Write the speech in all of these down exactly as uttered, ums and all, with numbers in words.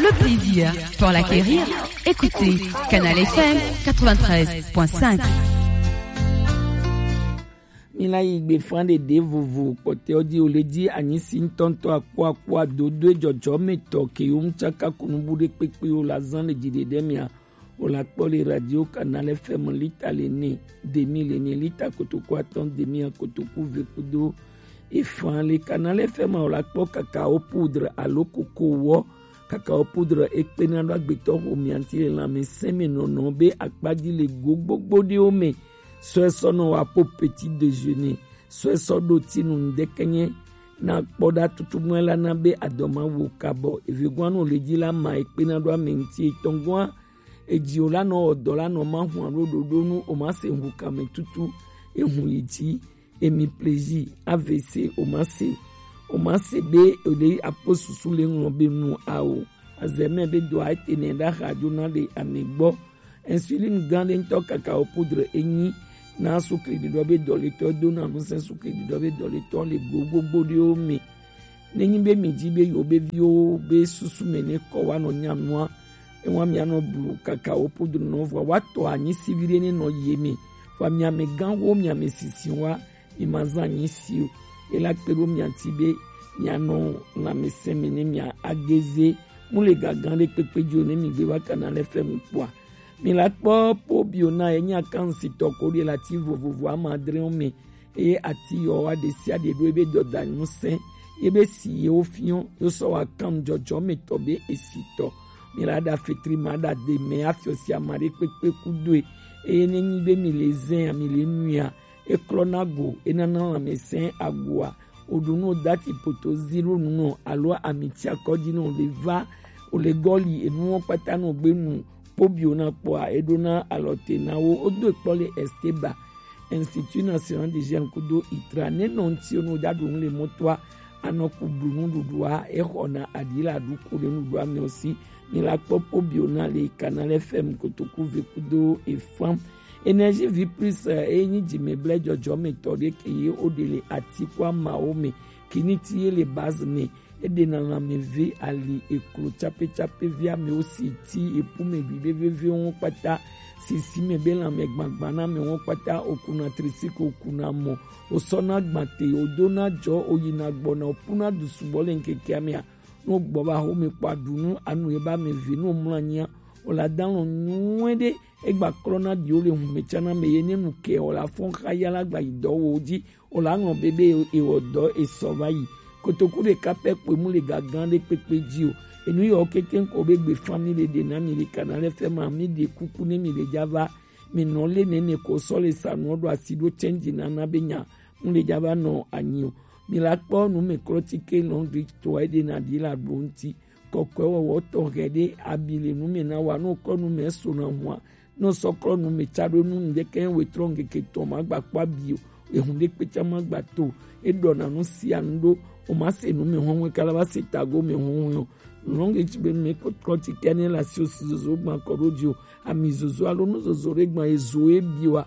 Le plaisir pour l'acquérir, écoutez Canal F M quatre-vingt-treize point cinq. Mina yi gbe fan de de vovo kpɔtɛ ɔdi o le di anyi si ŋutɔŋutɔ akpo akpo adodo ejɔjɔ me tɔ ke yo ŋutsa ka kunu bu de kpekpe o la zan le dzi de de mia. O la kpɔ le radio Canal F M lita le ne demi le ne lita kotoku atɔn demi a kotoku ve kudo efan le Canal F M a o la kpɔ cacao poudre alo koko wɔ. Cacao poudre ekpena ɖo agbetɔ xo mianti le lãmesẽ me nɔnɔ be akpaji le go gbogbo ɖewo me. Sɔe sɔ nɔ wa po petit déjeuner, sɔe sɔ ɖo tinu ŋdɛkɛnyɛ na kpɔ ɖa tutu mɔ la na be adɔma wo kabɔ. Evegoa no le dzi la ma ekpena ɖo ame ŋti etɔngoa. Edziwo la nɔ wɔ dɔ la nɔ ma hua ɖo ɖoɖo nu o ma se ŋu kame tutu ehu yi dzi. Emi plaisir A V C o ma se o ma se be o le akpɔ susu le ŋlɔ be nu a o. Azɛmɛ be do a ete nɛ ɖa xa jo na le ame gbɔ. Insuline gan ɖe ŋutɔ cacao poudre enyi na sukli ɖiɖɔ be dɔletɔ do na nusẽ sukli ɖiɖɔ be dɔletɔ le go gbogbo ɖewo me. Nenyi be mi dzi be yewo be viwo be susu me ne kɔ wa nɔ nya nua, ewa mia nɔ blu cacao poudre nɔ vɔ wa tɔ anyi siviɖe ne nɔ ye me. Vɔ mia me gan wo mia me sisi wa mi ma zan anyi si o. Ela kpe ɖo mia ti be mia nɔ lãmesẽ me ne mia ageze mu le gagan ɖe kpekpe dzi o ne mi gbe va kana le fɛ mu kpɔa. Mi la kpɔ po bio na ye nya kan si tɔ ko ɖe la ti vovovo ama adre me. Eye ati yɔ wa ɖe sia ɖe ɖo ebe dɔda ŋusẽ ye be si ye wo fiɔ yo sɔ wa kan jɔjɔ me tɔ be esi tɔ. Mi la ɖa fetri ma ɖa de me afiɔ si ama ɖe kpekpe ku doe. Eye ne nyi be mi le zẽ a mi le nui a, e klɔ na go e nana lãmesẽ agoa. O ɖu nu o dati poto zi ɖo nu nɔ alo ami ti akɔdzi nɔ o le va o le gɔli enuwo kpata nɔ gbe nu. Pobio na kpɔa e ɖo na alɔ te na wo o do ekpɔ le Esteba Institut National de Jeunes kudo itra ne nɔ ŋti o nu da ɖu nu le mɔtoa anɔ ku ɖu nu ɖuɖua e xɔ na aɖi la ɖu ku le nu ɖu ame o si. Mi la kpɔ pobio na le Canal F M kotoku ve kudo efam. Énergie vie plus e nyi dzi me ble jɔjɔ me tɔ ɖe ke ye o ɖe le ati ku amawo me. Kiniti ye le base ne e ɖe na lãme ve ali eklo tsape tsape vi amewo si ti epu me gbi be veve wo kpata sisi me be lãme gbagba na me wo kpata o kuna trisiko o kuna mɔ o sɔ na gbate o do na jɔ o yi na gbɔ na o pu na du subɔ le ŋkeke amea. No gbɔ va xome kpɔ aɖu nu anu ye ba me ve no mlɔ anyia o la da lɔ nyuie ɖe egba klɔ na ɖiwo le hume tsana me ye ne nu ke o la fɔn xa ya la gba yi dɔ wo dzi o la ŋlɔ be be ewɔ dɔ esɔ va yi. Kotoku ɖeka pɛ kpoe mu le gagan ɖe kpekpe dzi o. Enu yɔ keke ŋkɔ be gbe family ɖe na mi le kana le fɛ ma mi ɖe kuku ne mi le dza va mi nɔ le nene ko sɔ le sanu ɖo asi ɖo tsɛnji nana be nya mu le dza va nɔ anyi o. Mi la kpɔ nu me klɔ tike lɔndri tɔ eɖe na ɖi la ɖo ŋti. Kɔkɔe wɔwɔ tɔ hɛ ɖe abi le nu me na wa no kɔ nu me so na hua. No sɔ klɔ nu me tsa ɖo nu ŋdɛkɛ wetrɔ ŋkeke tɔ ma gba kpɔ abi o. Ehun ɖe kpetsa ma gba to. E ɖɔ na nu sia nu ɖo. O ma se nu me hɔn hɔn kala va se tago me hɔn hɔn o. Lɔnge tsi be me ko klɔ tike ne la si o si zozo gba kɔ ɖo dzi o. Ami zozo alo nu zozo ɖe gba ezo e bi wa.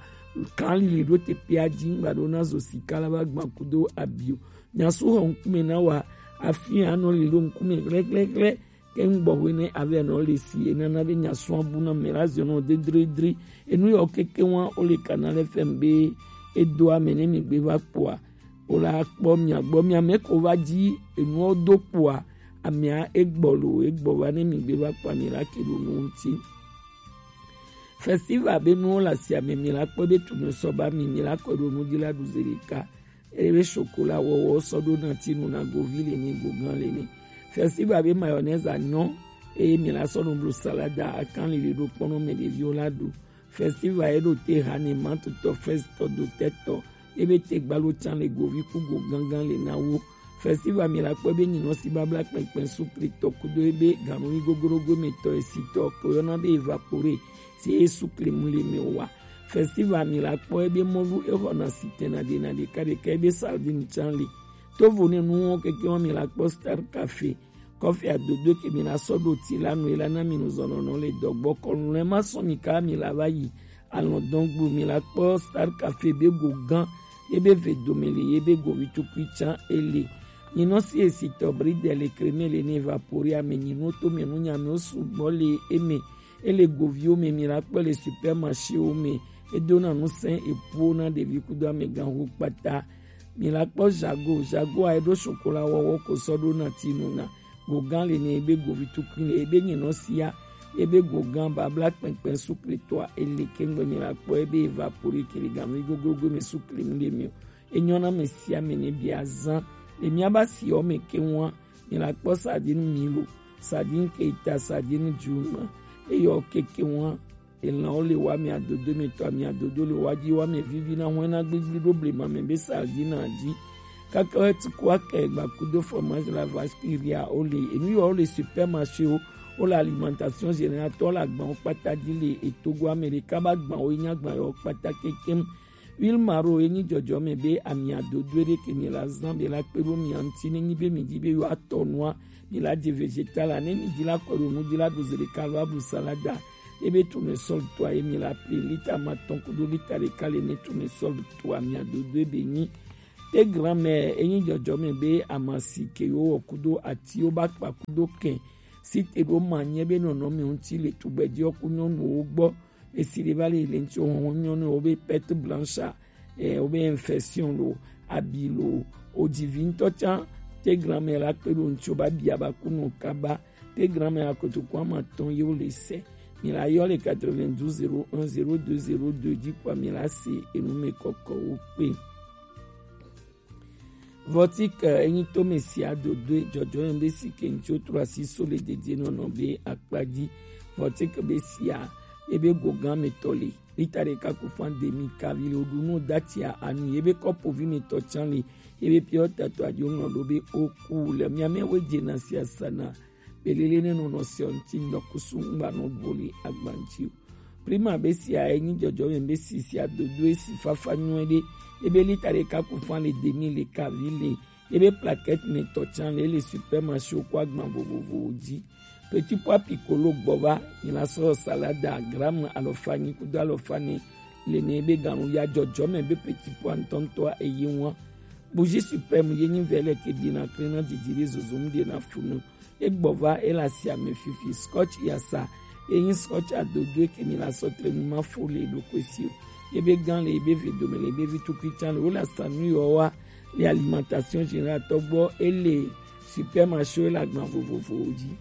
Kan lili ɖo te pe adzi ŋgba ɖo na zo sika la va gba kudo abi o. Nyasu xɔ ŋkume na wa afi anɔ li ɖo ŋkume hlɛhlɛhlɛ ke ŋgbɔ hwe ne avɛ nɔ le si enana be nyasu abu na me la ziɔ nɔ dedredre. Enu yɔ keke wa o le kana le fɛm be edo ame ne mi gbe va kpɔa o la kpɔ mia gbɔ mia me ko va dzi enuɔ do kpɔa amea egbɔ lo egbɔ va ne mi gbe va kpɔa mi la ke ɖo nu ŋuti. Festival be nuwo le asia me mi la kpɔ be tunu sɔ ba mi mi la kɔ ɖo nu dzi la ɖu zi ɖeka. Ebe chocolat wɔwɔ sɔ ɖo na tinu na govi le ni gogan le ni. Festival be mayonnaise anyɔ eye mi la sɔ nu blu salada akan lili ɖo kpɔnɔ me ɖeviwo la ɖu. Festival ye ɖo te ha ne ma tutɔ fɛs tɔ do tɛ tɔ ebe te gbalo tsan le govi ku go gangan le na wo. Festival mi la kpɔ ebe nyinɔ si babla kpɛnkpɛn sukli tɔ kudo ebe ganu yi gogorogo me tɔ esi tɔ ko yɔna be evapore si ye sukli mu le me wa. Festival mi la kpɔ ebe mɔlu exɔ na sitɛn na ɖe na ɖeka ɖeka ebe sardine tsan li. Tovo ne nuwo keke wa mi la kpɔ Star Cafe. Kɔfi adodo ke mi la sɔ ɖo ti la nu ela na mi nu zɔnɔnɔ le dɔgbɔ kɔnu lɛ ma sɔ mi ka mi la va yi. Alɔ dɔn gbu mi la kpɔ Star Cafe be go gan ye be ve dome le ye be govi tukui tsan ele. Nyinɔ si esitɔ bride le kreme le ne évapore ame nyinɔ to me nu nyame wo sugbɔ le eme. Ele goviwo me mi la kpɔ le supermarché wo me. Edona nu sɛn epuwo na ɖevi kudo amegã ho kpata. Mi la kpɔ jago, jago a eɖo chocolat wɔwɔ ko sɔ ɖo na tinu na. Gogan le ne ebe govi tukui le ebe nyinɔ sia. Ebe gogan babla kpɛnkpɛn sukle toa ele kengbe mi la kpɔ ebe évapore ke le ganvi goglogo me sukle mu ɖe mi o. Enyɔ na ame sia ame ne bia zã. Le miaba siwo me ke ŋua, mi la kpɔ sardine milo, sardine keita, sardine djuma. Eyɔ keke ŋua, elãwo le wa mi adodo me tɔ mi adodo le wa dzi wa me vivi na hɔn na gbigbi ɖo blema me be sardine dzi. Kaka wo ti ko aka egba kudo fromage la vache qui rit, wo le enu yɔ wo le supermarché wo, wo le alimentation générale tɔ le agban wo kpata dzi le etogo ame ɖeka ba gban wo nya gban yɔ kpata kekem. Huile maro ye nyi dzɔdzɔme be amia dodoe ɖe ke mi la zã be la kpe ɖo mia ŋuti ne nyi be mi di be yewoa tɔ nua, mi la ɖe vegetale ne mi di la kɔ ɖo nu di la ɖu zi ɖeka lo aɖu salada. Ye be tournesol toa ye mi la pli lita ma tɔn kudo lita ɖeka le ne tournesol toa mia dodoe be nyi. Te gramɛ ye nyi dzɔdzɔme be amasi ke yewo wɔ kudo atiwo ba kpa kudo kɛ. Si te ɖo ma nye be nɔnɔme ŋuti le tugbedze ku nyɔnuwo gbɔ. Esi ɖe va le le ŋuti wo nyɔnu wo be perte blanche, eh, wo be infection lo, abi lo, odzivi ŋutɔ tsã. Te gramɛ la kpe ɖo ŋuti wo ba bia ba ku nɔ kaba. Te gramɛ la kotoku ama tɔn ye wo le se. Mi la yɔ le quatre-vingt-douze zéro un zéro deux zéro deux dzi kpɔ mi la se enu me kɔkɔ wo kpe. Vɔtik enyi tome sia dodoe dzɔdzɔyɔn be si ke ŋtsi wotrɔ asi so le dedienɔnɔ be akpa dzi. Vɔtik be sia ebe gogan me tɔ le lita ɖeka ku fan demi kavi le woɖu nu datia anu yebe kɔpovi me tɔ tsan le yebe piɔ tato adio ŋlɔ ɖo be oku le miame we dze na sia sana. Belele ne nɔnɔ sia ŋti ŋdɔ kusu ŋgba nɔ gbɔ le agban dzi o. Prima be sia enyi dzɔdzɔme be si sia dodo esi fafa nyuie ɖe. Ebe lita ɖeka ku fan le demi le kavi le. Ebe plaquette me tɔ tsan le le supermarché ko agban vovovowo dzi. Petit pois piccolo gbɔ va, mi la sɔ salada gramme alɔfa nyi kudo alɔfa ne le ne ebe ganu ya dzɔdzɔme be petit pois ŋtɔŋtɔa eyi ŋua. Bougie suprême ye nyi vɛlɛ ke dina kle na didi ɖe zozo mu ɖe na funu. Egbɔ va ele asi ame fifi scotch yasa. Eyin scotch adodo eke mi la sɔ tre nu ma fo le ɖokui si o. Ebe gan le ebe ve dome le ebe vi tukui tsan le wo la sa nu yɔ wa le alimentation générale tɔgbɔ ele supermarché le agban vovovowo dzi.